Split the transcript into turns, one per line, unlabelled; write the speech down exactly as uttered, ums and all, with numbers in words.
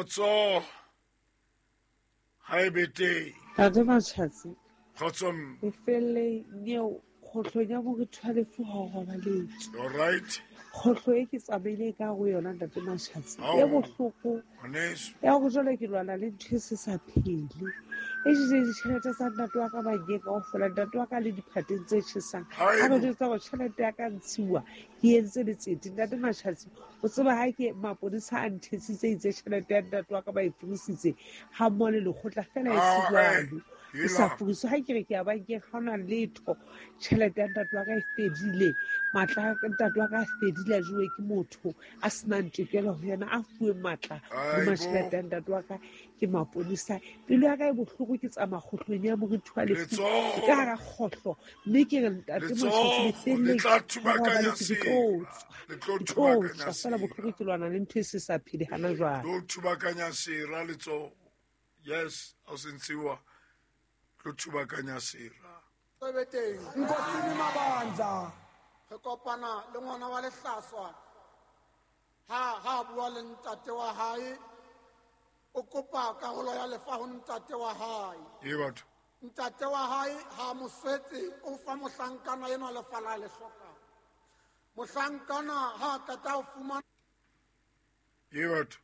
Khotso ha e be teng.
Ntate Matjhatsi.
Khotso mme.
E felle nyeo kgohlong ya moriti wa lefu ha o robaletse.
All right.
Kgohlo e ke tsamaile ka ho yona Ntate Matjhatsi. E bohloko.
Ngwaneso.
Ya hore jwale ke lwana le ntho e se sa phele. E jele ditjhelete tsa ntate wa ka bankeng kaofela, ntate wa ka le diphateng tse tjhesang. A re jwetsa hore tjhelete ya ka ntshiwa ke entse letsete. Ntate Matjhatsi, o tseba ha ke maponesa a nthetsitse itse tjhelete ya ntate wa ka ba e furisitse ha mmoho le lekgotla fela e se jwalo. E sa furiswe. Ha ke re ke ya bankeng ha hona letho. Tjhelete ya ntate wa ka e fedile. Matla a ntate wa ka a fedile a jowe ke motho a senang tokelo ho yena, a fuwe matla hodima tjhelete ya ntate wa ka ke maponesa. Pelo ya ka e bohloko, ke tsamaya kgohlong ya moriti wa lefu. Ke ka hara kgohlo, mme ke re Ntate Matjhatsi lefelleng ha robaletse ke tlo tswa. Ke tlo tswa fela bohloko, ke lwana le ntho e se sa phele hana jwale.
Tlo thubakanya sera letsoho. Yes, ha o se ntshiwa. Tlo thubakanya sera.
Nkosini Mabandla re kopana le ngwana wa lehlaswa ha ha bua le ntate wa hae, o kopa karolo ya lefa ho ntate wa hae.
E batho.
Ntate wa hae ha mo swetse, o fa mohlankana enwa lefa la le hlokang. Mohlankana ha qeta ho fumana
E batho.